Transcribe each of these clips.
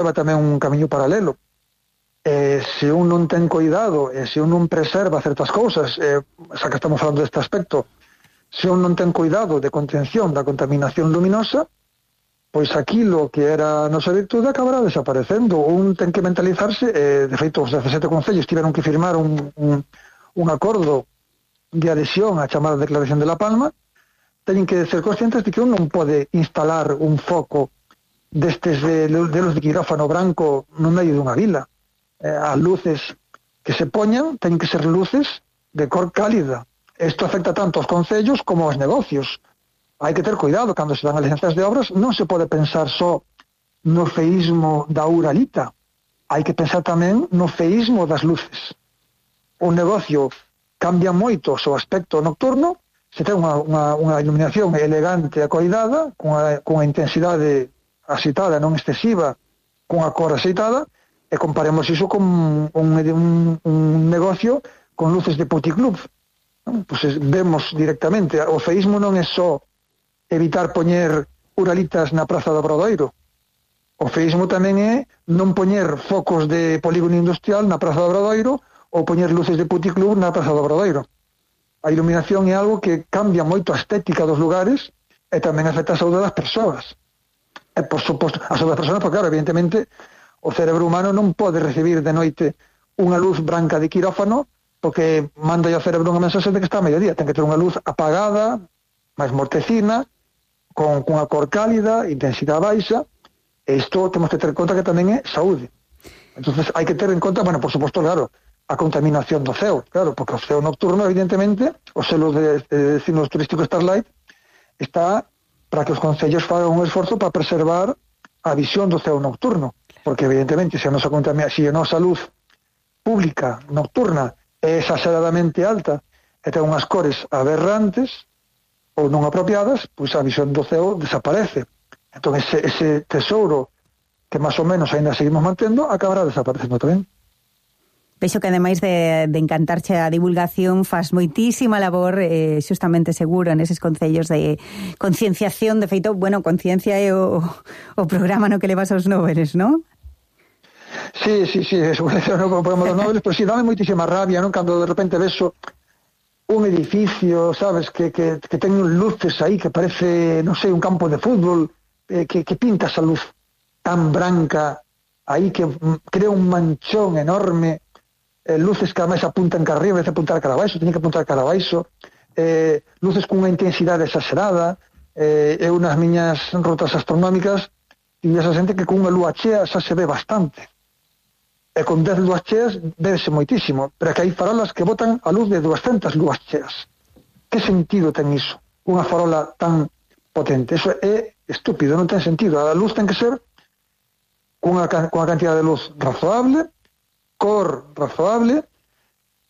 leva tamén un camiño paralelo. Se un non ten cuidado, se un non preserva certas cousas, xa que estamos falando deste aspecto, se un non ten cuidado de contención da contaminación luminosa, pois aquilo que era a nosa virtude acabará desaparecendo. Un ten que mentalizarse, de feito os 17 concellos tiveron que firmar un acordo de adhesión á chamada Declaración de La Palma. Teñen que ser conscientes de que un non pode instalar un foco destes de luz de quirófano branco no medio dunha vila. As luces que se poñan teñen que ser luces de cor cálida. Isto afecta tanto aos concellos como aos negocios. Hai que ter cuidado cando se dan as licencias de obras. Non se pode pensar só no feísmo da uralita, hai que pensar tamén no feísmo das luces. O negocio cambia moito o seu aspecto nocturno se ten unha iluminación elegante e coidada, con a intensidade axeitada, non excesiva, con a cor axeitada, e comparemos iso con un negocio con luces de puticlub. Pois vemos directamente, o feísmo non é só evitar poñer uralitas na Praza do Obradoiro. O feísmo tamén é non poñer focos de polígono industrial na Praza do Obradoiro ou poñer luces de puticlub na Praza do Obradoiro. A iluminación é algo que cambia moito a estética dos lugares e tamén afecta a saúde das persoas. E, por suposto, a saúde das persoas, porque, claro, evidentemente, o cerebro humano non pode recibir de noite unha luz branca de quirófano porque manda ao cerebro unha mensaxe de que está a mediodía. Ten que ter unha luz apagada, máis mortecina, con unha cor cálida, intensidade baixa, e isto temos que ter en conta que tamén é saúde. Entonces hai que ter en conta, bueno, por suposto, claro, a contaminación do ceo, claro, porque o ceo nocturno, evidentemente, o selo de destinos turísticos Starlight está para que os concellos fagan un esforzo para preservar a visión do ceo nocturno, porque evidentemente se a nosa luz pública nocturna é exageradamente alta e ten unhas cores aberrantes ou non apropiadas, pois a visión do ceo desaparece. Entón ese tesouro que máis ou menos ainda seguimos mantendo acabará desaparecendo tamén. Vexo que ademais de encantarche a divulgación faz moitísima labor xustamente seguro neses concellos de concienciación. De feito, bueno, conciencia é o programa no que levas aos Nobeles, non? Sí, seguro que non o programa dos Nobeles, pero sí, dame moitísima rabia, non? Cando de repente vexo un edificio, sabes, que ten luces aí que parece, non sei, un campo de fútbol, que pinta esa luz tan branca aí que crea un manchón enorme, luces que ademais apuntan cara arriba, vez apuntar cara abaixo, teñen que apuntar cara abaixo, luces cunha intensidade exagerada, eu nas miñas rotas astronómicas tive esa xente que con unha lúa chea xa se ve bastante, e con 10 lúas cheas vese moitísimo, pero é que hai farolas que botan a luz de 200 lúas cheas. Que sentido ten iso? Unha farola tan potente, eso é estúpido, non ten sentido. A luz ten que ser cunha cantidad de luz razoable, cor razoable.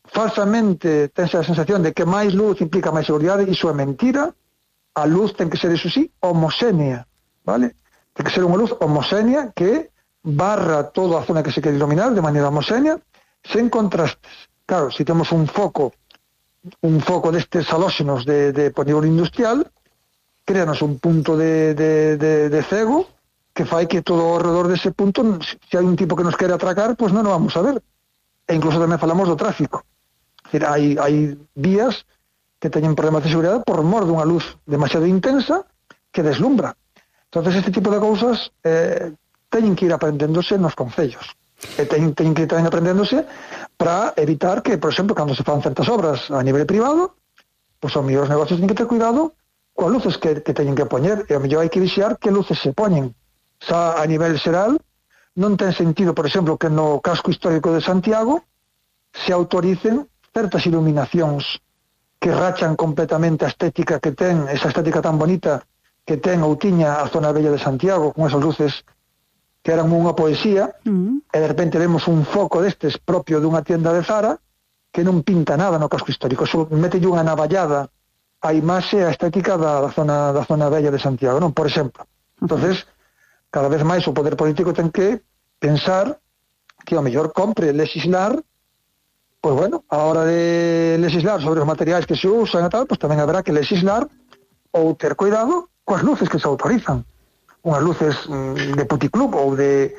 Falsamente tense a sensación de que máis luz implica máis seguridade, iso é mentira. A luz ten que ser, iso sí, homoxénea, vale? Ten que ser unha luz homoxénea que barra toda a zona que se quere iluminar de maneira homoxénea, sen contrastes. Claro, se temos un foco destes halóxenos de polígono industrial, créanos un punto de cego que fai que todo ao redor dese punto, se hai un tipo que nos quere atracar, pois non o vamos a ver. E incluso tamén falamos do tráfico. Hai vías que teñen problemas de seguridade por mor dunha luz demasiado intensa que deslumbra. Entonces, este tipo de cousas teñen que ir aprendéndose nos concellos. E teñen que ir tamén aprendéndose para evitar que, por exemplo, cando se fan certas obras a nivel privado, pois os mellores negocios teñen que ter cuidado coas luces que teñen que poñer, e ao mellor hai que vixiar que luces se poñen. Xa a nivel xeral non ten sentido, por exemplo, que no casco histórico de Santiago se autoricen certas iluminacións que rachan completamente a estética que ten, esa estética tan bonita que ten ou tiña a zona bella de Santiago, con esas luces que eran unha poesía, e de repente vemos un foco destes propio dunha tienda de Zara que non pinta nada no casco histórico, só metelle unha navallada a imaxe, a estética da zona bella de Santiago, non? Por exemplo. Entonces, cada vez máis o poder político ten que pensar que ao mellor compre legislar, pois bueno, a hora de legislar sobre os materiais que se usan e tal, pois tamén haberá que legislar ou ter cuidado coas luces que se autorizan. Unhas luces de puticlub ou de